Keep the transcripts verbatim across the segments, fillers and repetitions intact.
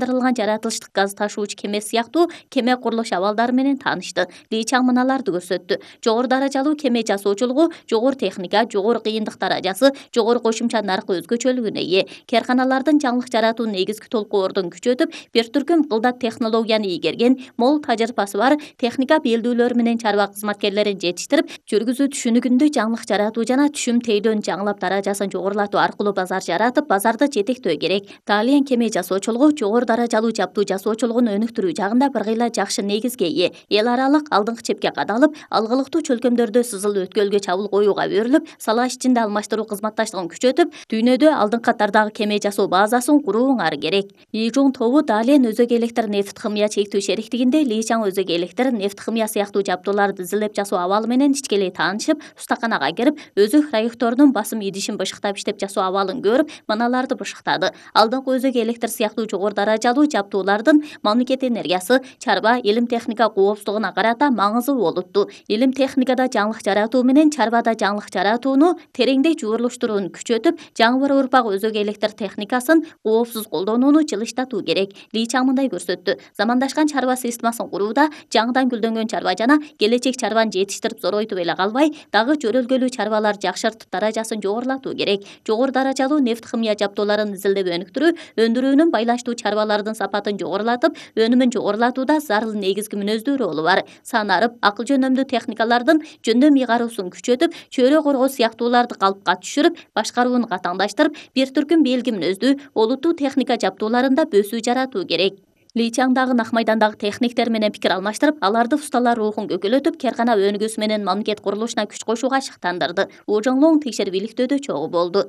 жаратылыштык газ ташуучу кеме сыяктуу кеме курулуш абалдары менен таанышты. Ли Чаң мыналарды көрсөттү. Жогору даражалуу кеме жасоочулугу жогору техника, жогору кыйындык даражасы, жогору кошумча наркы өзгөчөлүгүнө ээ. Карканалардын жаңылык жаратуу негизги толкуордун күчөтүп, бир түркүм кылдат технологияны ийгерген, мол тажрыйбасы бар техника белдүүлөр менен чарба кызматкерлерин жетиштирип, жүргүзүү түшүнүгүндө жаңылык жаратуу жана түшүм тейлөөнү жаңылап даражасын жогорулатуу аркылуу базар жаратып, базарды жетектөө керек. Далиен кеме жасоочулугу жогору даражалуу жаптуу жасоочулугун өнүктүрүү жагында бир кыйла жакшы негизге ээ. Эл аралык алдыңкы чепке кадалып, алгылыктуу чөлкөмдөрдө сызыл өткөлгө чабуул коюуга берилип, сала ичинде алмаштыруу кызматташтыгын күчөтүп, дүйнөдө алдыңкы катардагы кеме жасоо базасын курууңар керек. Ижун тобу Далиен өзөк электр нефт химия чектүү шериктигинде Ли Чаң өзөк электр, нефт химия сыяктуу жабдууларды изилдеп жасоо абалы менен ичкелей таанышып, устаканага кирип, өзөк раекторунун басым идишин бышыктап иштеп жасоо абалын көрүп, мыналарды бышыктады. Алдыңкы өзөк электр сыяктуу жогору даражалуу жабдуулардын мамлекет энергиясы, чарба, илим техника коопсуздугуна карата маңызы болутту. Илим техникада жаңылык жаратуу менен чарбада жаңылык жаратууну тереңдей жуурулуштурууну күчөтүп, жаңы бір урпак өзөк электр техникасын коопсуз колдонууну жылыштатуу керек. Ли Чаң мындай көрсөттү. Замандашкан чарба системасын курууда жаңыдан гүлдөнгөн чарба жана келечек чарбаны жетиштирип зоройтуп эле калбай, дагы жөрөлгөлүү чарбалар жакшыртып даражасын жогорулатуу керек. Жогору даражалуу нефт химия жабдууларын изилдеп өнүктүрүү, өндүрүүнүн байланыштуу чарбалардын сапатын жогорулатып, өнүмүн жогорулатууда зарыл негизги мүнөздүү ролу бар. Санарып, акыл жөнөмдүү техникалардын жөндөм ыйгаруусун күчөтүп, чөйрө коргоо сыяктууларды калыпка түшүрүп, башкарууну катаңдаштырып, бир түркүм белги мүнөздүү, олуттуу техника жабдууларында бөсүү жаратуу керек. Ли Чаң дагы Нак майдандагы техниктер менен пикир алмаштырып, аларды усталар рухун көкөлөтүп, каркана өнүгүүсү менен мамлекет курулушуна күч кошууга шыктандырды. У Жоңлоң текшерип иликтөөдө чогуу болду.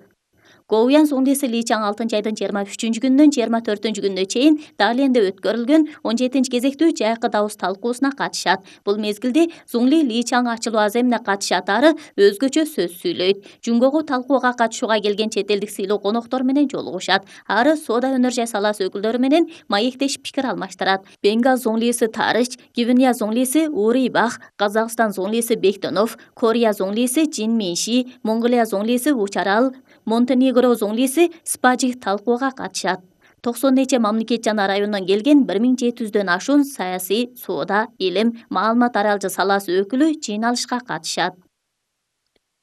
Гоуян Зуңлиси Ли Чаң алтынчы айдын жыйырма үчүнчү күнүнөн жыйырма төртүнчү күнүнө чейин Далиенде өткөрүлгөн он жетинчи кезектүү жайкы добуш талкуусуна катышат. Бул мезгилде Зуңли Ли Чаң ачылуу аземине катышатары өзгөчө сөз сүйлөйт. Жунгогу талкууга катышууга келген чет элдик сыйлуу коноктор менен жолугушат. Ары соода өнөр жай саласы өкүлдөрү менен маектешип пикир алмаштырат. Бенгал Зуңлиси Тарыч, Гвинея Зуңлиси Ури Бах, Казакстан Зуңлиси Бектонов, Корея Зуңлиси Жин Минши, Монголия Зуңлиси Учарал, Монтенегро Зуңлиси Спажи талкууга катышат. токсон нече мамлекет жана райондон келген бир миң жети жүздөн ашуун саясий, соода, илим, маалымат аралжы саласы өкүлү жыйналышка катышат.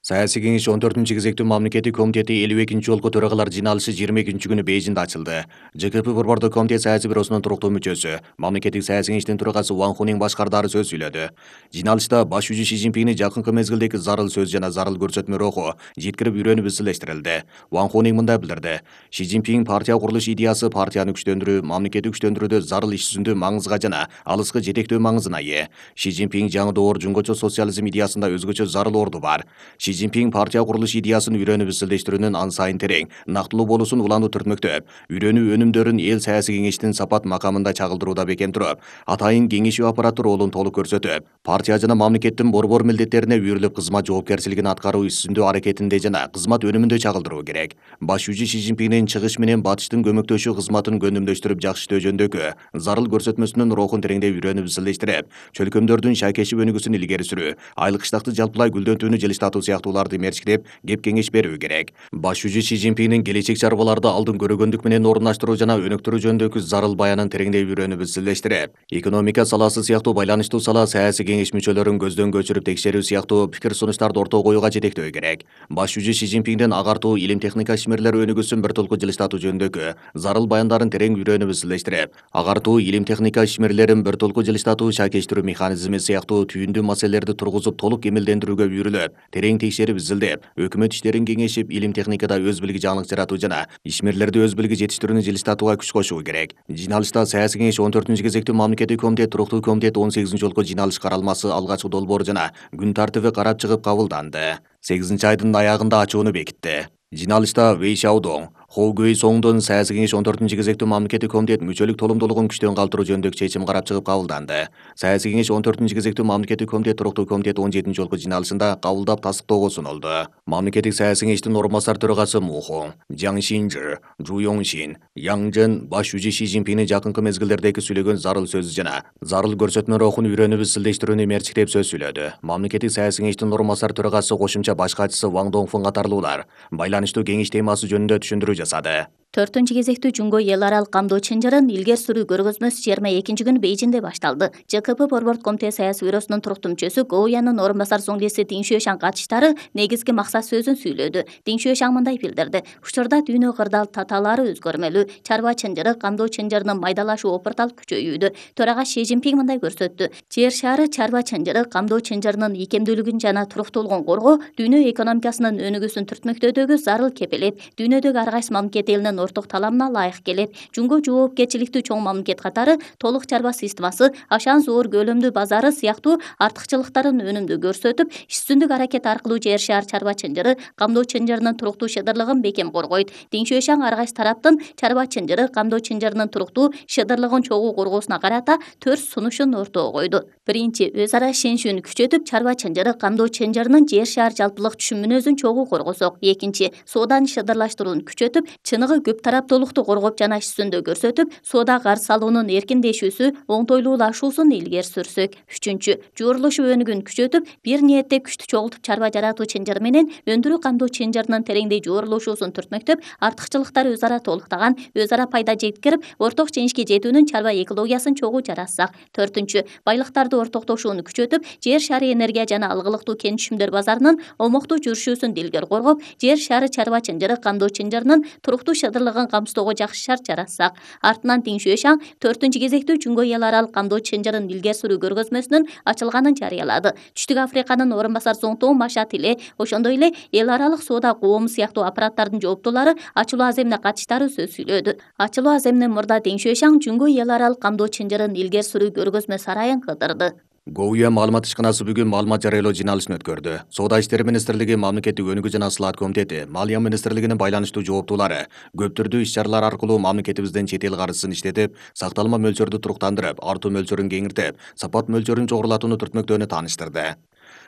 Саясий кеңеш он төртүнчү кезектүү мамлекеттик комитети элүү экинчи жолку төрагалар жыйналышы жыйырма экинчи күнү Бейжиңде ачылды. ЖКП борбордук комитет саясий бюросунун туруктуу мүчөсү, мамлекеттик саясий кеңештин төрагасы Ван Хунин башкардары сөз сүйлөдү. Жыйналышта баш жүзү Ши Цзиньпиндин жакынкы мезгилдеги зарыл сөз жана зарыл көрсөтмө руху жеткирип үйрөнүп изилештирилди. Ван Хунин мындай билдирди. Ши Цзиньпин партия курулуш идеясы партияны күчтөндүрүү, мамлекетти күчтөндүрүүдө зарыл иш жүзүндө маңызга жана алыскы жетектөө маңызына ээ. Ши Цзиньпин жаңы доор жунгочо социализм идеясында өзгөчө зарыл орду бар. Ши Цзиньпин партия курулуш идеясын үйрөнүп изилдештирүүнүн ан сайын терең, нактылуу болуусун улануу түртмөктөп, үйрөнүү өнүмдөрүн эл саясий кеңештин сапат макамында чагылдырууда бекем туруп, атайын кеңешүү аппараты ролун толук көрсөтүп, партия жана мамлекеттин борбор милдеттерине үйрүлүп кызмат жоопкерчилигин аткаруу иш жүзүндө аракетинде жана кызмат өнүмүндө чагылдыруу керек. Баш жүзү Ши Цзиньпиндин чыгыш менен батыштын көмөктөшүү кызматын көндүмдөштүрүп жакшыртуу жөнүндөгү зарыл көрсөтмөсүнүн рухун тереңдей үйрөнүп изилдештирип, чөлкөмдөрдүн шайкешип өнүгүүсүн илгери сүрүү, айлык кыштакты жалпылай гүлдөнтүүнү жылыштатуу сыяктууларды мерчиктеп, кеп кеңеш берүү керек. Баш жүзү Ши Цзиньпиндин келечек чарбаларды алдын көрөгөндүк менен орундаштыруу жана өнүктүрүү жөнүндөгү зарыл баянын тереңдей үйрөнүп изилдештирип, экономика саласы сыяктуу байланыштуу сала саясий кеңеш мүчөлөрүн көздөн көчүрүп текшерүү сыяктуу пикир сунуштарды ортого коюуга жетектөө керек. Баш жүзү Ши Цзиньпиндин агартуу, илим техника ишмерлери өнүгүүсүн бир толку жылыштатуу жөнүндөгү зарыл баяндарын терең үйрөнүп изилдештирип, агартуу, илим техника ишмерлерин бир толку жылыштатуу, шайкештирүү механизми сыяктуу түйүндүү маселелерди тургузуп толук эмилдендирүүгө үйрүлүп, терең текшерип изилдеп, өкмөт иштерин кеңешип, илим техникада өз билги жаңылык жаратуу жана ишмерлерди өз билги жетиштирүүнү жылыштатууга күч кошуу керек. Жыйналышта саясий кеңеш он төртүнчү кезектүү мамлекеттик комитет, туруктуу комитет он сегизинчи жолку жыйналыш каралмасы, алгачкы долбоор жана күн тартиби карап чыгып кабылданды. сегизинчи айдын аягында ачууну бекитти. Жыйналышта Вэй Шаодоң, Хоу Гуэй Соңдун саясий кеңеш он төртүнчү кезектүү мамлекеттик комитет мүчөлүк толумдуулугун күчтөн калтыруу жөнүндөгү чечим карап чыгып кабылданды. Саясий кеңеш он төртүнчү кезектүү мамлекеттик комитет, туруктуу комитет он жетинчи жолку жыйналышында кабылдап тастыктоого сунулду. Мамлекеттик саясий кеңештин орун басар төрагасы Му Хун, Жаң Шинжи, Жу Йоңшин, Яң Жен баш жүзү Ши Цзиньпиндин жакынкы мезгилдердеги сүйлөгөн зарыл сөз жана зарыл көрсөтмө рухун үйрөнүп изилдештирүүнү мерчиктеп сөз сүйлөдү. Мамлекеттик саясий кеңештин орун басар төрагасы кошумча баш катчысы Ван Доңфун катарлуулар байланыштуу кеңеш темасы жөнүндө түшүндүрүү жасады. төртүнчү кезектүү Жуңго эл аралык камдоо чынжырын илгери сүрүү көргөзмөсү жыйырма экинчи күнү Бейжиңде башталды. ЖКП Борбордук комитет саясий бюросунун туруктуу мүчөсү Гоуянын орун басар зоңдеси Диң Шуэшан катышчылары негизги максат сөзүн сүйлөдү. Диң Шуэшан мындай билдирди: учурда дүйнө кырдаал татаалары өзгөрмөлүү, чарба чынжыры, камдоо чынжырынын майдалашуу опурталып күчөйүүдө. Төрага Ши Цзиньпин мындай көрсөттү: жер шары чарба чынжыры, камдоо чынжырынын икемдүүлүгүн жана туруктуулугун коргоо дүйнө экономикасынын өнүгүүсүн түртмөктөөдөгү зарыл кепелет. Дүйнөдөгү ар кайсы мамлекет элинин орток талабына ылайык келет. Жуңго жоопкерчиликтүү чоң мамлекет катары толук чарба системасы, ашан зоор көлөмдүү базары сыяктуу артыкчылыктарын өнүмдүү көрсөтүп, үстүндүк аракет аркылуу жер шаар чарба чынжыры, камдоо чынжырынын туруктуу шыдырлыгын бекем коргойт. Диң Шуэшан ар кайсы тараптын чарба чынжыры, камдоо чынжырынын туруктуу шыдырлыгын чогуу коргоосуна карата төрт сунушун ортого койду. Биринчи, өз ара ишеничүүнү күчөтүп, чарба чынжыры, камдоо чынжырынын жер шаар жалпылык түшүм мүнөзүн чогуу коргосок. Экинчи, сооданы шыдырлаштырууну күчөтүп, чыныгы көп тараптуулукту коргоп жана иш жүзүндө көрсөтүп, соода карыз алуунун эркиндешүүсү, оңтойлуулашуусун илгери сүрсөк. Үчүнчү, жуурулушу өнүгүүнү күчөтүп, бир ниетте күчтү чогултуп чарба жаратуу чынжыры менен өндүрүү камдоо чынжырынын тереңдей жуурулушуусун түртмөктөп, артыкчылыктары өз ара толуктаган, өз ара пайда жеткирип, орток жеңишке жетүүнүн чарба экологиясын чогуу жаратсак. Төртүнчү, байлыктарды ортоктошууну күчөтүп, жер шары энергия жана алгылыктуу кен түшүмдөр базарынын омоктуу жүрүшүүсүн дилгер коргоп, жер шары чарба чынжыры, камдоо чынжырынын туруктуу шыдырлыгын камсыздоого жакшы шарт жаратсак. Артынан Диң Шуэшан төртүнчү кезектүү Жуңго эл аралык камдоо чынжырын илгери сүрүү көргөзмөсүнүн ачылганын жарыялады. Түштүк Африканын орун басар зоңтоо Машат эле, ошондой эле эл аралык соода коому сыяктуу аппараттардын жооптуулары ачылуу аземине катыштары сөз сүйлөдү. Ачылуу аземинен мурда Диң Шуэшан Жуңго эл аралык камдоо чынжырын илгери сүрүү көргөзмө сарайын кыдырды. Гоуя маалымат ишканасы бүгүн маалымат жарыялоо жыйналышын өткөрдү. Соода иштери министрлиги, мамлекеттик өнүгүү жана слаат комитети, Малия министрлигинин байланыштуу жооптуулары көп түрдүү иш-чаралар аркылуу мамлекетибизден чет эл каржысын иштетип, сакталма мөлчөрдү туруктандырып, артуу мөлчөрүн кеңиртип, сапат мөлчөрүн жогорулатууну түртмөктөөнү тааныштырды.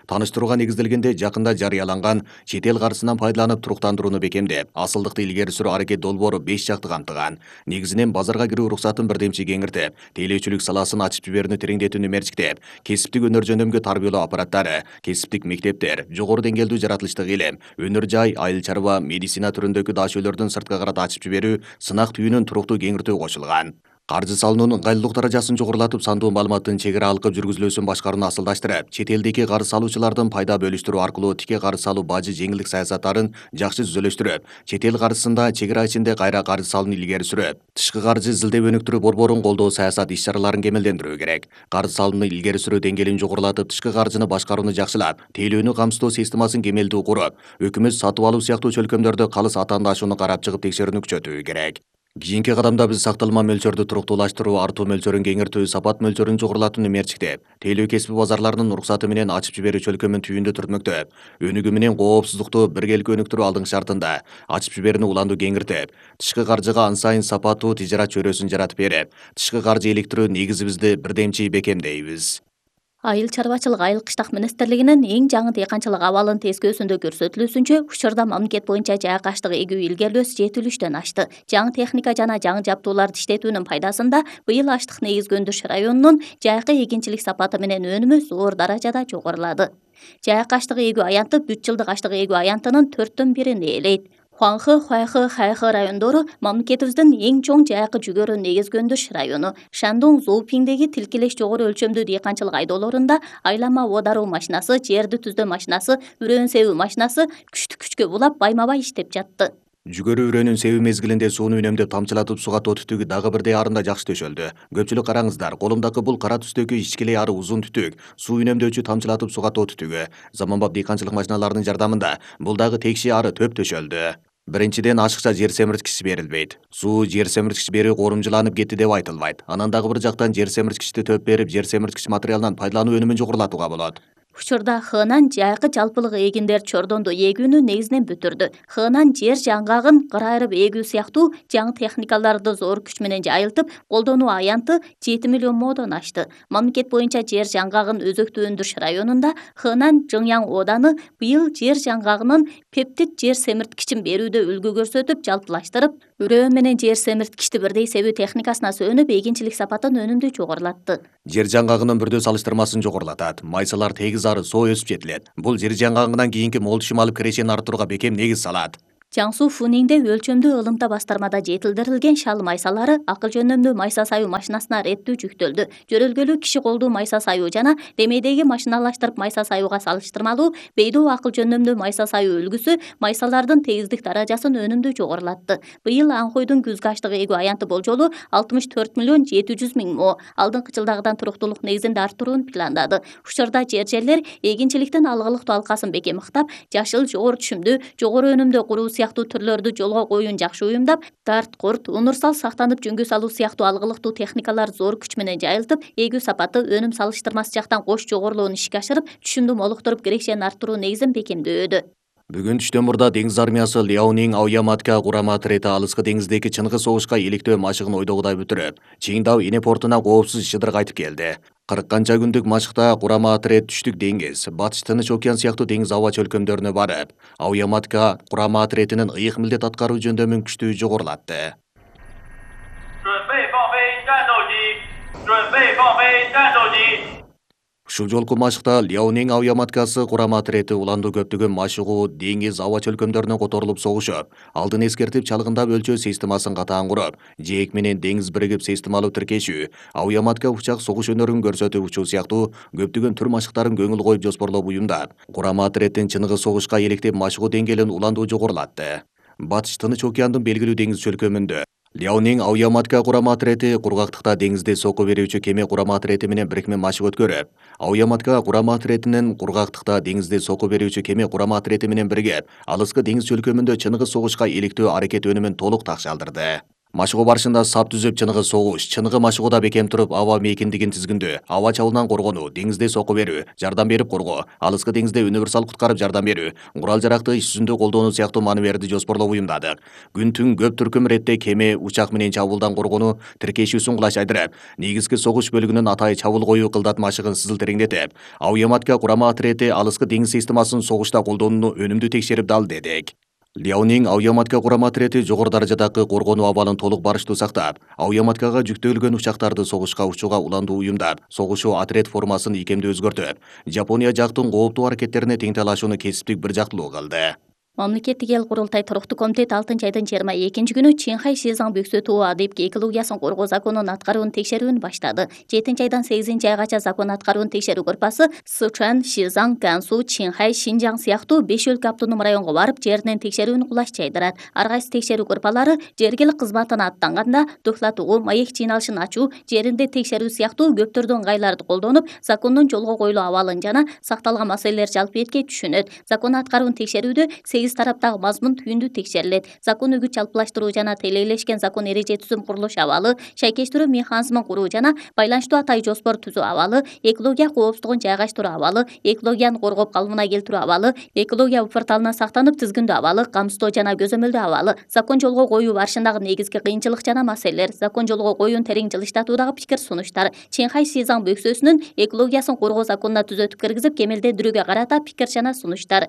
Тааныштырууга негизделгенде жакында жарыяланган чет эл каржысынан пайдаланып туруктандырууну бекемдеп, асылдыкты илгери сүрүү аракет долбоору беш жакты камтыган. Негизинен базарга кирүү уруксатын бирдемчи кеңиртип, тейлөөчүлүк саласын ачып жиберүүнү тереңдетүүнү мерчиктеп, кесиптик өнөр жөндөмгө тарбиялоо аппараттары, кесиптик мектептер, жогору деңгээлдүү жаратылыштык илим, өнөр жай, айыл чарба, медицина түрүндөгү дашөөлөрдүн сыртка карата ачып жиберүү, сынак түйүнүн туруктуу кеңиртүү кошулган. Каржы салуунун ыңгайлуулук даражасын жогорулатып, сандуу маалыматтын чек ара алкып жүргүзүлүүсүн башкарууну асылдаштырып, чет элдеги карыз салуучулардын пайда бөлүштүрүү аркылуу тике карыз салуу бажы жеңилдик саясаттарын жакшы түзөлөштүрүп, чет эл каржысында чек ара ичинде кайра карыз салууну илгери сүрүп, тышкы каржы изилдеп өнүктүрүү борборун колдоо саясат иш-чараларын кемелдендирүү керек. Карыз салууну илгери сүрүү деңгээлин жогорулатып, тышкы каржыны башкарууну жакшылап, тейлөөнү камсыздоо системасын кемелдүү куруп, өкмөт сатып алуу сыяктуу чөлкөмдөрдө калыс атаандашууну карап чыгып текшерүүнү күчөтүү керек. Кийинки кадамда биз сакталма мөлчөрдү туруктуулаштыруу, артуу мөлчөрүн кеңиртүү, сапат мөлчөрүн жогорулатууну мерчиктеп, тейлөө кесиби базарларынын уруксаты менен ачып жиберүү чөлкөмүн түйүндү түртмөктөп, өнүгүү менен коопсуздукту биргеликте өнүктүрүү алдыңкы шартында ачып жиберүүнү уланду кеңиртип, тышкы каржыга ан сайын сапаттуу тижарат чөйрөсүн жаратып берип, тышкы каржы иликтирүү негизибизди бирдемчи бекемдейбиз. Айыл чарбачылык айыл кыштак министрлигинин эң жаңы дыйканчылык абалын тескөөсүндө көрсөтүлүүсүнчө, учурда мамлекет боюнча жайык аштык эгүү илгери үлөсү жети үчтөн ашты. Жаңы техника жана жаңы жабдууларды иштетүүнүн пайдасында быйыл аштык негизги өндүрүш районунун жайкы эгинчилик сапаты менен өнүмү зор даражада жогорулады. Жайык аштык эгүү аянты бүт жылдык аштык эгүү аянтынын төрттөн бирин ээлейт. Хуанхэ, Хуайхэ, Хайхэ райондору мамлекетибиздин эң чоң жайкы жүгөрү негизги өндүрүш району. Шандун, Зоупиңдеги тилкелеш жогору өлчөмдүү дыйканчылык айдоолорунда айлама оодаруу машинасы, жерди түздөө машинасы, үрөөн себүү машинасы күчтү күчкө булап байма-бай иштеп жатты. Жүгөрү үрөөнүн себүү мезгилинде сууну үнөмдөп тамчылатып суга тоо түтүгү дагы бирдей арында жакшы төшөлдү. Көпчүлүк караңыздар, колумдагы бул кара түстөгү ичкилей ары узун түтүк, суу үнөмдөөчү тамчылатып суга тоо түтүгү. Заманбап дыйканчылык машиналарынын жардамында бул дагы текши ары төп төшөлдү. Биринчиден, ашыкча жер семирткичи берилбейт. Суу жер семирткич берүү коорумчуланып кетти деп айтылбайт. Анан дагы бир жактан жер семирткичти төп берип, жер семирткич материалынан пайдалануу өнүмүн жогорулатууга болот. Учурда Хынан жайкы жалпылык эгиндер чордондо эгүүнү негизинен бүтүрдү. Хынан жер жаңгагын кыр айрып эгүү сыяктуу жаңы техникаларды зор күч менен жайылтып, колдонуу аянты жети миллион модон ашты. Мамлекет боюнча жер жаңгагын өзөктүү өндүрүш районунда Хынан Жыңяң ооданы быйыл жер жаңгагынын пептид жер семирткичин берүүдө үлгү көрсөтүп, жалпылаштырып, үрөөн менен жер семирткичти бирдей себүү техникасына сөнүп, эгинчилик сапатын өнүмдүү жогорулатты. Жер жаңгагынын бүрдө салыштырмасын жогорулатат. Майсалар тегиз ары соо өсүп жетилет. Бул жер жаңгагынан кийинки мол түшүм алып кирешени арттырууга бекем негиз салат. Жаңсу Фунingде өлчөмдүү ылымта бастармада жетилдирилген шал майсалары акыл жөнөмдүү майса саюу машинасына реттүү жүктөлдү. Жөрөлгөлүү киши колдуу майса саюу жана демейдеги машиналаштырып майса саюуга салыштырмалуу бейдоо акыл жөнөмдүү майса саюу үлгүсү майсалардын тегиздик даражасын өнүмдүү жогорулатты. Быйыл Анхойдун күзгү аштык эгүү аянты болжолу алтымыш төрт миллион жети жүз миң мо алдыңкы жылдагыдан туруктуулук негизинде арттырууну пландады. Учурда жер жерлер эгинчиликтин алгылыктуу алкасын бекем ыктап, жашыл, жогору түшүмдүү, жогору өнүмдүү куруу сыяктуу түрлөрдү жолго коюун жакшы уюмдап, дарт, курт, унурсал сактанып жөнгө салуу сыяктуу алгылыктуу техникалар зор күч менен жайылтып, эгүү сапаты, өнүм салыштырмасы жактан кош жогорулууну ишке ашырып, түшүмдү молуктуруп, кирекчени арттыруу негизин бекемдөөдө. Бүгүн түштөн мурда деңиз армиясы Лиаонинг Аояматка курама отряды алыскы деңиздеги чыныгы согушка иликтөө машыгын ойдогудай бүтүрүп, Чиңдау эне портуна коопсуз шыдыр кайтып келди. кырк канча күндүк машыкта курама отряд түштүк деңиз, батыш Тыныч океан сыяктуу деңиз аба чөлкөмдөрүнө барып, Аояматка курама отрядынын ыйык милдет аткаруу жөндөмүн күчтүү жогорулатты. Ушул жолку машыкта Лиаонинг Аояматкасы курама отряды уланду көптөгөн машыгуу деңиз аба чөлкөмдөрүнө которулуп согушуп, алдын эскертип чалгындап өлчөө системасын катаан куруп, жээк менен деңиз биригип системалуу тиркешүү, Аояматка учак согуш өнөрүн көрсөтүп учуу сыяктуу көптөгөн түр машыктарын көңүл коюп жоспорлоп уюмдап, курама отряддын чыныгы согушка иликтеп машыгуу деңгээлин уландуу жогорулатты. Батыш Тыныч океандын белгилүү деңиз чөлкөмүндө Лиаонинг Аояматка курама отряды кургактыкта деңизде сокко берүүчү кеме курама отряды менен бирикме машык өткөрүп, Аояматка курама отрядынын кургактыкта деңизде сокко берүүчү кеме курама отряды менен биригип, алыскы деңиз чөлкөмүндө чыныгы согушка иликтөө аракет өнүмүн толук такшалдырды. Машыгуу барышында сап түзүп чыныгы согуш, чыныгы машыгууда бекем туруп аба мейкиндигин тизгиндөө, аба чабуулунан коргонуу, деңизде сокко берүү, жардам берип коргоо, алыскы деңизде универсал куткарып жардам берүү, курал жаракты иш жүзүндө колдонуу сыяктуу маневрди жоспорлоп уюмдадык. Күн түн көп түркүм иретте кеме, учак менен чабуулдан коргонуу, тиркешүүсүн кулачайдырып, негизги согуш бөлүгүнүн атайы чабуул коюу кылдат машыгын сызыл тереңдетип, Аояматка курама отряды алыскы деңиз системасын согушта колдонууну өнүмдүү текшерип дал дедик. Лиаонинг Аояматка курама отряды жогору даражадагы коргонуу абалын толук барыштуу сактап, Аояматкага жүктөлгөн учактарды согушка учууга уландуу уюмдап, согушуу отряд формасын ийкемдүү өзгөртүп, Жапония жактын кооптуу аракеттерине тең талашууну кесиптик бир жактылуу кылды. Мамлекеттик эл курултай туруктуу комитет алтынчы айдын жыйырма экинчи күнү Чинхай Шизаң Бөксө тоо адеп экологиясын коргоо законун аткаруун текшерүүнү баштады. жетинчи айдан сегизинчи айгача закон аткаруун текшерүү группасы Сычуан, Шизаң, Гансу, Чинхай, Шинжаң сыяктуу беш өлкө автоном районго барып, жеринен текшерүүнү кулаш жайдырат. Ар кайсы текшерүү группалары жергилик кызматына аттанганда дохлатуу, маек жыйналышын ачуу, жеринде текшерүү сыяктуу көптөрдү ыңгайларды колдонуп, закондун жолго коюлуу абалын жана сакталган маселелер жалпы этке түшүнөт. Закон аткаруун текшерүүдө сегиз тараптагы мазмун түйүндүү текшерилет. Закон үгүт жалпылаштыруу жана тейлелешкен закон эреже түзүм курулуш абалы, шайкештирүү механизмин куруу жана байланыштуу атай жоспор түзүү абалы, экология коопсуздугун жайгаштыруу абалы, экологияны коргоп калыбына келтирүү абалы, экология порталынан сактанып тизгиндөө абалы, камсыздоо жана көзөмөлдөө абалы, закон жолго коюу барышындагы негизги кыйынчылык жана маселелер, закон жолго коюун терең жылыштатуудагы пикир сунуштар, Чинхай Шизаң Бөксөсүнүн экологиясын коргоо законуна түзөтүп киргизип кемелдендирүүгө карата пикир жана сунуштар.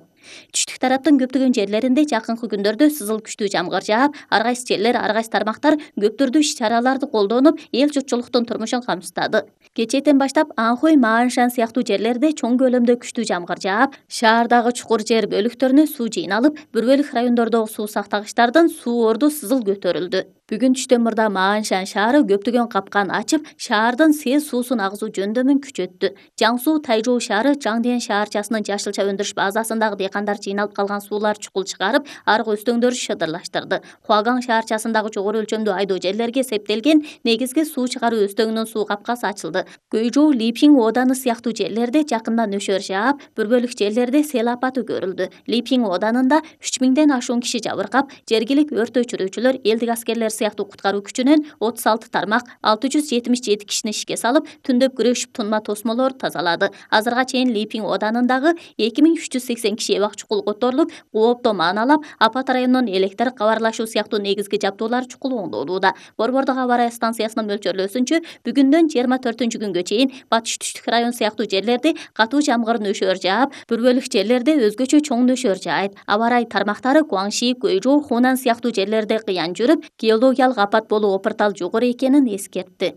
Түштүк тараптын көптөгөн жерлеринде жакынкы күндөрдө сызыл күчтүү жамгыр жаап, ар кайсы жерлер, ар кайсы тармактар көп түрдүү иш-чараларды колдонуп, эл журтчулуктун турмушун камсыздады. Кечээден баштап Анхой, Мааншан сыяктуу жерлерде чоң көлөмдө күчтүү жамгыр жаап, шаардагы чукур жер бөлүктөрүнө суу жыйналып, бир бөлүк райондордогу суу сактагычтардан суу орду сызыл көтөрүлдү. Бүгүн түштөн мурда Мааншан шаары көптөгөн капкан ачып, шаардын сез суусун агызуу жөндөмүн күчөттү. Жаңсу Тайжоу шаары Жаңден шаарчасынын жашылча өндүрүш базасындагы дыйкандар жыйналып калган суулар чукул чыгарып, аркы өстөңдөрү шыдырлаштырды. Хуагаң шаарчасындагы жогору өлчөмдүү айдоо жерлерге септелген негизги суу чыгаруу өстөңүнүн суу капкасы ачылды. Гөйжоу, Липинг ооданы сыяктуу жерлерде жакында нөшөр жаап, бир бөлүк жерлерде сел апаты көрүлдү. Липинг ооданында үч миңден ашуун киши жабыркап, жергилик өрт өчүрүүчүлөр, элдик аскерлер сыяктуу куткаруу күчүнөн отуз алты тармак алты жүз жетимиш жети кишини ишке салып, түндөп күрөшүп тунма тосмолор тазалады. Азырга чейин Липинг ооданындагы эки миң үч жүз сексен киши эбак чукул которулуп, кооптоо мааналап, апат районунун электр кабарлашуу сыяктуу негизги жабдуулар чукул оңдолууда. Борбордук аба ырайы станциясынын мөлчөрлөөсүнчө, бүгүндөн жыйырма төртүнчү күнгө чейин батыш түштүк район сыяктуу жерлерде катуу жамгыр нөшөр жаап, бир бөлүк жерлерде өзгөчө чоң нөшөр жаайт. Аба ырайы тармактары Гуаңши, Гөйжоу, Хунан сыяктуу жерлерде кыян жүрүп, геологиялык апат болуу опыртал жогору экенин эскертти.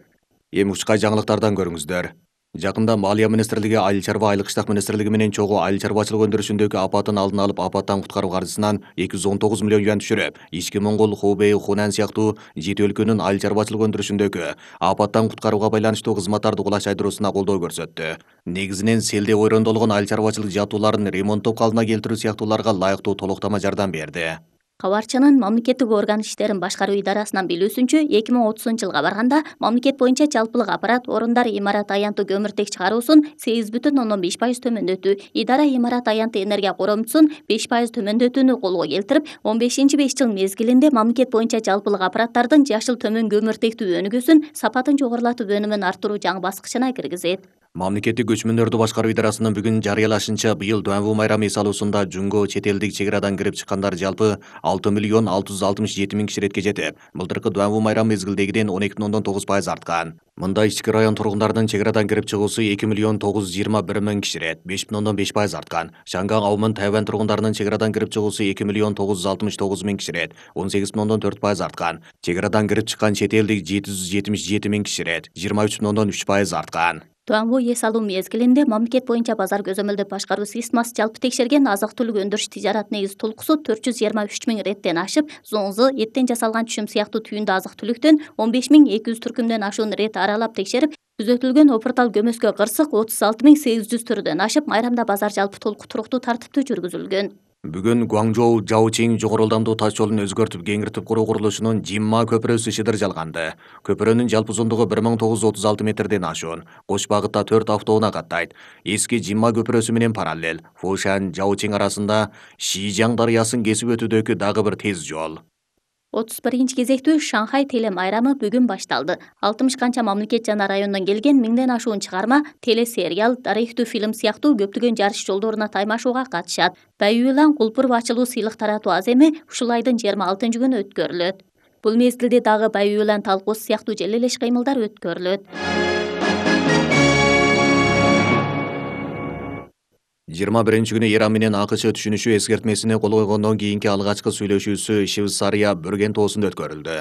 Эми ушкай жаңылыктардан көрүңүздөр. Жакында Маалия министрлиги Айыл чарба айыл кыштак министрлиги менен чогуу айыл чарбачылык өндүрүшүндөгү апаттын алдын алып, апаттан куткаруу каржысынан эки жүз он тогуз миллион юань түшүрүп, ички Моңгол, Хубей, Хунан сыяктуу жети өлкөнүн айыл чарбачылык өндүрүшүндөгү апаттан куткарууга байланыштуу кызматтарды кулачайдырууна колдоо көрсөттү. Негизинен селде ойрондолгон айыл чарбачылык жабдууларын ремонттоп калыбына келтирүү сыяктууларга лайыктуу толуктама жардам берди. Кабарчынын мамлекеттик орган иштерин башкаруу идарасынан билүүсүнчө, эки миң отузунчу жылга барганда мамлекет боюнча жалпылык аппарат орундар имарат аянттуу көмүртек чыгаруусун сегиз бүтүн ондон беш пайыз төмөндөтүү, идара имарат аянттуу энергия коромчусун беш пайыз төмөндөтүүнү колго келтирип, он бешинчи беш жыл мезгилинде мамлекет боюнча жалпылык аппараттардын жашыл төмөн көмүртектүү өнүгүүсүн сапатын жогорулатып өнүмүн арттыруу жаңы баскычына киргизет. Мамлекеттик көчмөндөрдү башкаруу идарасынын бүгүн жарыялашынча, быйыл Дуанву майрамы эс алуусунда жунго чет элдик чек арадан кирип чыккандар жалпы алты миллион алты жүз алтымыш жети миң киши иретке жетип, былтыркы Дуанву майрамы мезгилдегиден он эки бүтүн ондон тогуз пайыз арткан. Мында ички район тургундарынын чек арадан кирип чыгуусу эки миллион тогуз жүз жыйырма бир миң киши ирет, беш бүтүн ондон беш пайыз арткан. Шанган, Аумын, Тайвань тургундарынын чек арадан кирип чыгуусу эки миллион тогуз жүз алтымыш тогуз миң киши ирет, он сегиз бүтүн ондон төрт пайыз арткан. Чек арадан кирип чыккан чет элдик жети жүз жетимиш жети миң киши ирет, жыйырма үч бүтүн ондон үч пайыз арткан. Дуанву эс алуу мезгилинде мамлекет боюнча базар көзөмөлдөп башкаруу системасы жалпы текшерген азык-түлүк өндүрүш тижарат негиз тулкусу төрт жүз жыйырма үч миң реттен ашып, зоңзу, эттен жасалган түшүм сыяктуу түйүндү азык-түлүктөн он беш миң эки жүз түркүмдөн ашуун рет аралап текшерип, түзөтүлгөн опуртал көмөскө кырсык отуз алты миң сегиз жүз түрдөн ашып, майрамда базар жалпы толук туруктуу тартиптүү жүргүзүлгөн. Бүгүн Гуаңжоу Жаочиң жогору ылдамдуу таш жолун өзгөртүп кеңиртип куруу курулушунун Жимма көпүрөсү шыдыр жалганды. Көпүрөнүн жалпы узундугу бир миң тогуз жүз отуз алты метрден ашуун. Кош багытта төрт автоунаа каттайт. Эски Жимма көпүрөсү менен параллел Фушан, Жаочиң арасында Шижаң дарыясын кесип өтүүдөгү дагы бир тез жол. отуз биринчи кезектүү Шанхай теле майрамы бүгүн башталды. алтымыш канча мамлекет жана райондон келген миңден ашуун чыгарма, телесериал, тарыхтуу фильм сыяктуу көптөгөн жарыш жолдоруна таймашууга катышат. Баюйлан Кулпур ачылуу сыйлык таратуу аземи ушул айдын жыйырма алтынчы күнү өткөрүлөт. Бул мезгилде дагы Баюйлан талкуусу сыяктуу желелеш кыймылдар өткөрүлөт. жыйырма биринчи күнү Иран менен АКШ түшүнүшүү эскертмесине кол койгондон кийинки алгачкы сүйлөшүүсү Швейцария Бөрген тоосунда өткөрүлдү.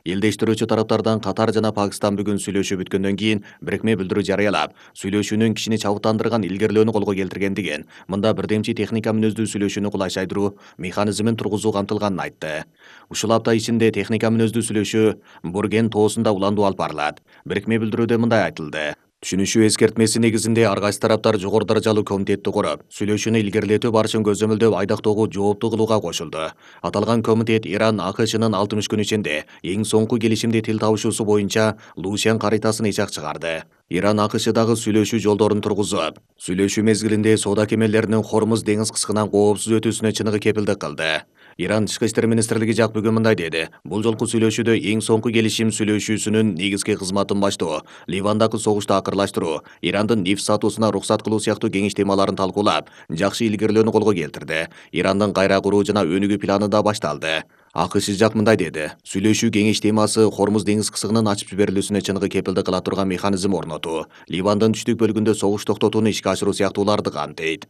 Элдештирүүчү тараптардан Катар жана Пакистан бүгүн сүйлөшүү бүткөндөн кийин бирикме билдирүү жарыялап, сүйлөшүүнүн кишини чабыттандырган илгерилөөнү колго келтиргендигин, мында бирдемчи техника мүнөздүү сүйлөшүүнү кулайчайдыруу механизмин тургузуу камтылганын айтты. Ушул апта ичинде техника мүнөздүү сүйлөшүү Бөрген тоосунда уландуу алып барылат. Бирикме билдирүүдө мындай айтылды: Түшүнүшүү эскертмеси негизинде ар кайсы тараптар жогору даражалуу комитетти куруп, сүйлөшүүнү илгерилетүү барышын көзөмөлдөп, айдактоого жоопту кылууга кошулду. Аталган комитет Иран АКШнын алтымыш күн ичинде эң соңку келишимди тил табышуусу боюнча Лушен каритасын ичак чыгарды. Иран АКШдагы сүйлөшүү жолдорун тургузуп, сүйлөшүү мезгилинде соода кемелеринин Хормуз деңиз кыскынан коопсуз өтүүсүнө чыныгы кепилдик кылды. Иран Тышкы иштер министрлиги жак бүгүн мындай деди: бул жолку сүйлөшүүдө эң соңку келишим сүйлөшүүсүнүн негизги кызматын баштоо, Ливандагы согушту акырлаштыруу, Ирандын нефть сатуусуна уруксат кылуу сыяктуу кеңеш темаларын талкуулап, жакшы илгерилөөнү колго келтирди. Ирандын кайра куруу жана өнүгүү планы да башталды. АКШ жак мындай деди: сүйлөшүү кеңеш темасы Хормуз деңиз кысыгынын ачып жиберилүүсүнө чыныгы кепилдик кыла турган механизм орнотуу, Ливандын түштүк бөлүгүндө согуш токтотууну ишке ашыруу сыяктууларды камтыйт.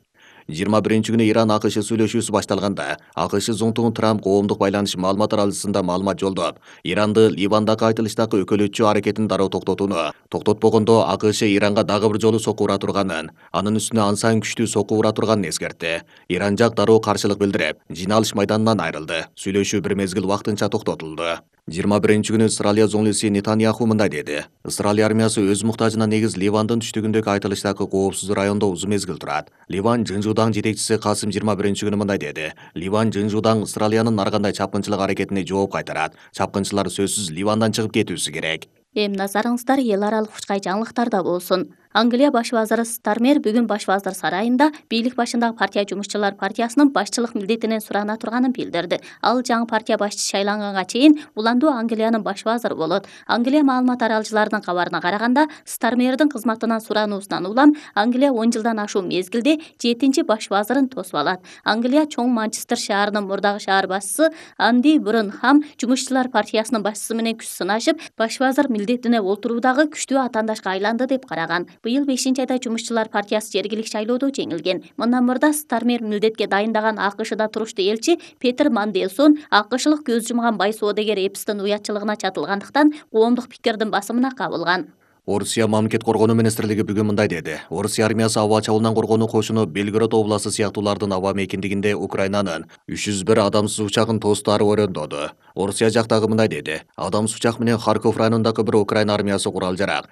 жыйырма биринчи күнү Иран АКШ сүйлөшүүсү башталганда, АКШ зонтугун Трамп коомдук байланыш маалымат таралышында маалымат жолдоп, Иранды Ливандагы айтылыштагы өкөлөтчү аракетин дароо токтотууну, токтотпогондо АКШ Иранга дагы бир жолу сокку ура турганын, анын үстүнө ансаң күчтүү сокку ура турганын эскертти. Иран жак дароо каршылык билдирип, жыйналыш майданынан айрылды. Сүйлөшүү бир мезгил вактынча токтотулду. жыйырма биринчи күнү Исраилия зоңлуси Нетаньяху мындай деди: Исраилия армиясы өз муктажына негиз Ливандын түштүгүндөгү айтылыштагы коопсуз райондо узун мезгил турат. Ливан Жынжудаң жетекчиси Касым жыйырма биринчи күнү мындай деди: Ливан Жынжудаң Исраилиянын ар кандай чапкынчылык аракетине жооп кайтарат. Чапкынчылар сөзсүз Ливандан чыгып кетүүсү керек. Эми назарыңыздар эл аралык учкай жаңылыктарда болсун. Англия баш вазыры Стармер бүгүн баш вазыр сарайында бийлик башындагы партия жумушчулар партиясынын башчылык милдетинен сурана турганын билдирди. Ал жаңы партия башчысы шайланганга чейин уландуу Англиянын баш вазыры болот. Англия маалымат таралгычыларынын кабарына караганда, Стармердин кызматынан сурануусунан улам Англия он жылдан ашуун мезгилде жетинчи баш вазырын тосуп алат. Англия чоң Манчестер шаарынын мурдагы шаар башчысы Анди Брунхам жумушчулар партиясынын башчысы менен күч сынашып, баш вазыр милдетине олтуруудагы күчтүү атаандашка айланды деп караган. Быйыл бешинчи айда жумушчулар партиясы жергилик шайлоодо жеңилген. Мындан мурда Стармер милдетке дайындаган АКШда туруштуу элчи Петер Манделсон АКШлык көз жумган бай соодагер Эпстин уятчылыгына чатылгандыктан коомдук пикирдин басымына кабылган. Орусия мамлекет коргонуу министрлиги бүгүн мындай деди. Орусия армиясы аба чабуулунан коргонуу кошуну Белгород областы сыяктуулардын аба мейкиндигинде Украинанын үч жүз бир адамсыз учагын тостары өрөндөдү. Орусия жактагы мындай деди. Адамсыз учак менен Харьков районундагы бир Украина армиясы курал-жарак